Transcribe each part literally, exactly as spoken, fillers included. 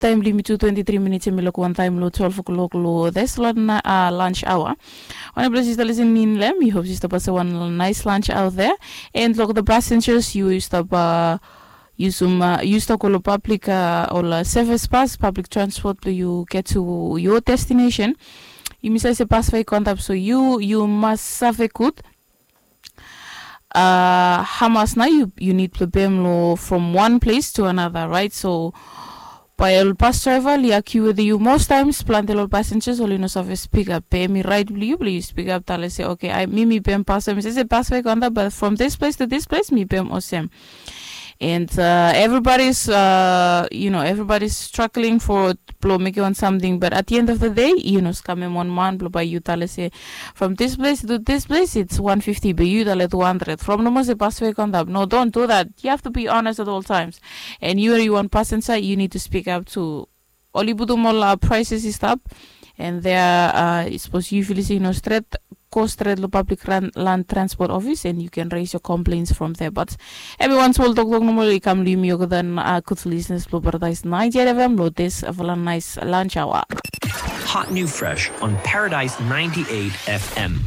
Taem blong yumi tu twenti tri minits, hemi luk wan taem long twelve o'clock long this long lunch hour. Wanem ples yu stap lisening long hem, mi hop yu stap asem wan nice lunch out there. And long the passengers, yu stap yusum, yu stap go long public, ol service bus, public transport blong yu get to your destination. Yumi save se bas we i go antap, so yu yu mas save gud hamas nao yu nid blong pem long from one place to another, right? So bae ol bas draeva oli akiu wetem yu. Most times plante long ol passengers oli no save spikap, be hemi rait blong yu blong yu spikap, talem se, okay, mi mi pem bas we mi save se bas we i go antap, but from this place to this place mi pem olsem. And everybody's, you know, everybody's struggling for blong mekem wan samting, but at the end of the day yu no skamem wan man blong bae yu talem se from this place to this place it's one fifty, be yu talem two hundred from nomo se bas we i go antap. No, don't do that. You have to be honest at all times. And yu yu wan pasenja, yu nid to speak up to oli putum ol prices i stap. And there, sapos yu filim se i no stret, go stret long public land transport office and you can raise your complaints from there. But hemi wan smol toktok nomo i kam long yumi olgeta, gud listeners blong Paradise ninety-eight F M long this fala nice lunch hour. Hot new fresh on Paradise ninety-eight F M.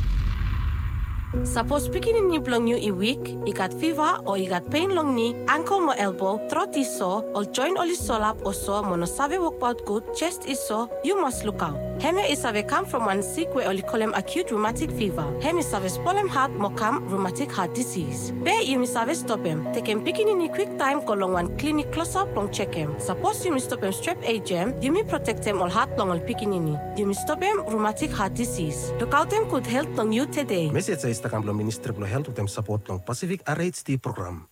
Sapos pikinini blong yu i wik, i gat fiva o i gat pen long ni, angkel mo elbo, trot i so, ol joen oli solap o so mo no save wokbaot gud, jes i so, yu mas lukaot. Hemia i save kam from wan sik we oli kolem acute rheumatic fever. Hem i save spolem hat mo kam rheumatic heart disease. Be yumi save stopem. Tekem pikinini kwiktaem go long wan klinik klosap blong jekem. Sapos yumi stopem strep ejam, yumi protektem ol hat blong ol pikinini. Yumi stopem rheumatic heart disease. Lukaotem gud helt blong yu tede. Mesej ya i stap kam blong Ministri blong Helt wetem sapot blong Pacific R H D program.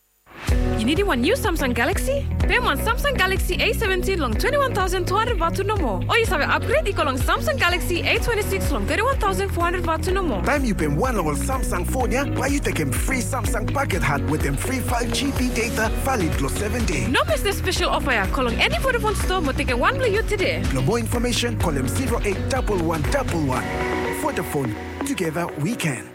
Yu nidim wan niu Samsung Galaxy? Pem wan Samsung Galaxy A seventeen long twenty-one thousand two hundred vatu nomo. O yu save upgrade i go long Samsung Galaxy A twenty-six long thirty-one thousand four hundred vatu nomo. Taem yu pem wan long ol Samsung fon ya, bae yu tekem fri Samsung paket hat wetem fri five G B data valid long seven dei. No mes this spesel ofa ya, go long eni Vodafone stoa mo tekem wan blong yu tede. Blong moa infomesen, kolem zero eight double one double one. Vodafone, together we can.